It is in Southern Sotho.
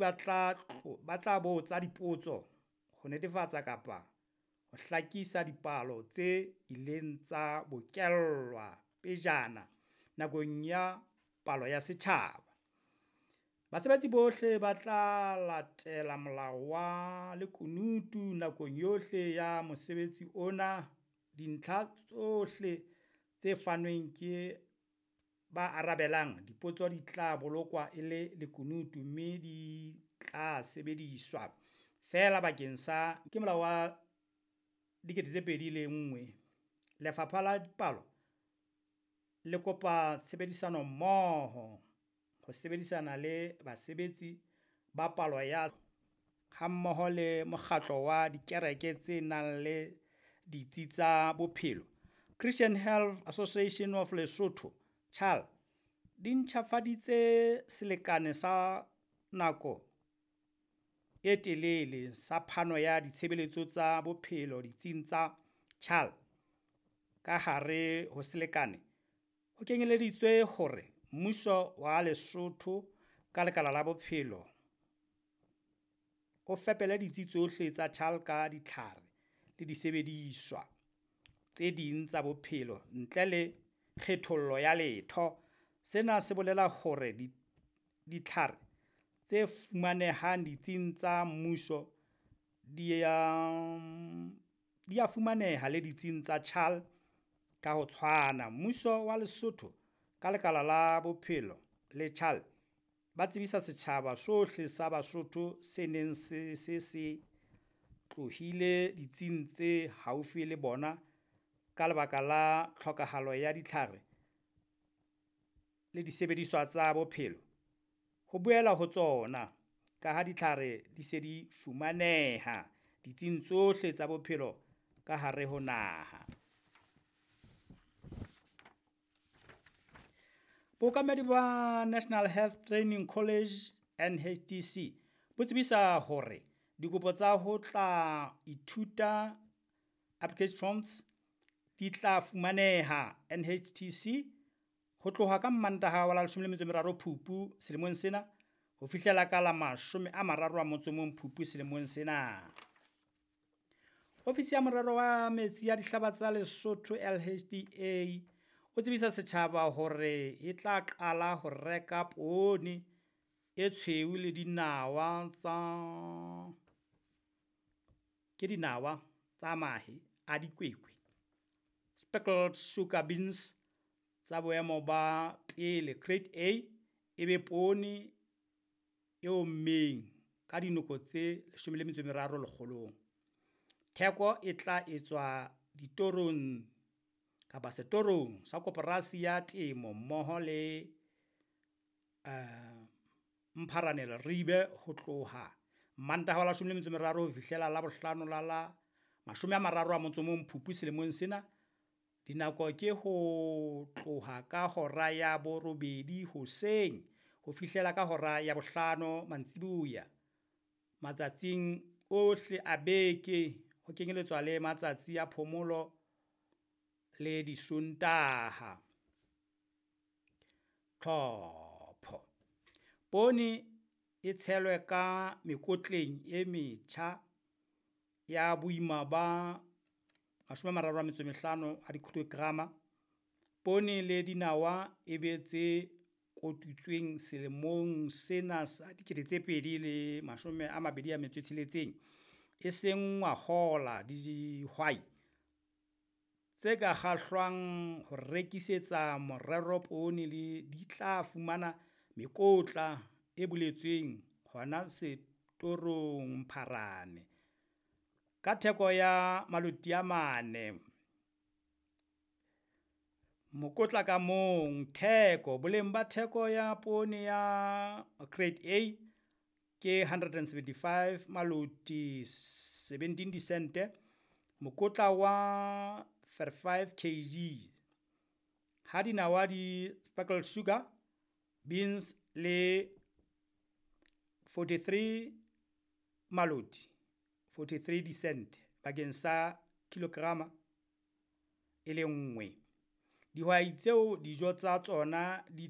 Ba tla botsa dipotso ho netefatsa kapa ho hlakisa dipalo tse ileng tsa bokellwa pejana nakong ya palo ya setjhaba. Basebetsi bohle ba tla latela molao wa lekunutu nakong yohle ya mosebetsi ona. Dintlha tsohle tse fanweng ke ba arabelang dipotso di tla bolokwa e le lekunutu, mme di tla sebediswa feela bakeng sa ke Molao wa 2001. Lefapha la Dipalo le kopa tshebedisanommoho ho sebedisana le basebetsi ba palo ya hammoho le Mokgatlo wa Dikereke tse nang le Ditsi tsa Bophelo, Christian Health Association of Lesotho, CHAL, di ntjhafaditse selekane sa nako e telele sa phano ya ditshebeletso tsa bophelo ditsing tsa CHAL. Ka hare ho selekane ho kenyeleditswe hore mmuso wa Lesotho ka Lekala la Bophelo o fepele ditsi tsohle tsa CHAL ka ditlhare le disebediswa tse ding tsa bophelo ntle le kgethollo ya letho. Sena se bolela hore ditlhare tse fumanehang ditsing tsa mmuso di a fumaneha le ditsing tsa CHAL ka ho tshwana. Mmuso wa Lesotho ka Lekala la Bophelo le CHAL ba tsebisa setjhaba sohle sa Basotho se neng se se se tlohile ditsing tse haufi le bona ka lebaka la tlhokahalo ya ditlhare le disebediswa tsa bophelo ho boela ho tsona, kaha ditlhare di se di fumaneha ditsing tsohle tsa bophelo ka hare ho naha. Bookamedi ba National Health Training College, NHTC, bo tsebisa hore dikopo tsa ho tla ithuta application forms di tla fumaneha NHTC ho tloha ka Mmantaha wa la 13 Phupu selemong sena ho fihlela ka la 31 Phupu selemong sena. Ofisi ya Morero wa Metsi a Dihlaba tsa Lesotho LHDA o tsebisa setjhaba hore e tla qala ho reka poone e tshweu le dinawa tsa ke dinawa tsa mahe a dikwekwe, speckled sugar beans, tsa boemo ba pele grade A ebe poone e ommeng ka dinoko tse 13 lekgolong. Theko e tla etswa ditorong kapa setorong sa koporasi ya temo mmoho le Mpharane Leribe ho tloha Mmantaha wa la 13 ho fihlela Labohlano la la 31 Phupu selemong sena. Dinako ke ho tloha ka hora ya 8 hoseng ho fihlela ka hora ya 5 mantsiboya matsatsing ohle a beke ho kenyeletswa le matsatsi a phomolo le Disontaha. Tlhopho. Poone e tshelwe ka mekotleng e metjha ya boima ba 35 kg. Poone le dinawa e be tse kotutsweng selemong sena sa 2026, eseng ngwahola. Dihwai tse ka kgahlwang ho rekisetsa morero poone di tla fumana mekotla e boletsweng hona setorong Mpharane ka theko ya maloti a mane mokotla ka mong. Theko, boleng ba theko ya poone ya grade A ke 175 maloti 17 disente mokotla wa 35 kg. Ha dinawa di speckled sugar beans le 43 maloti 43 disente bakeng sa kilograma e le nngwe. Dihwai tseo dijo tsa tsona di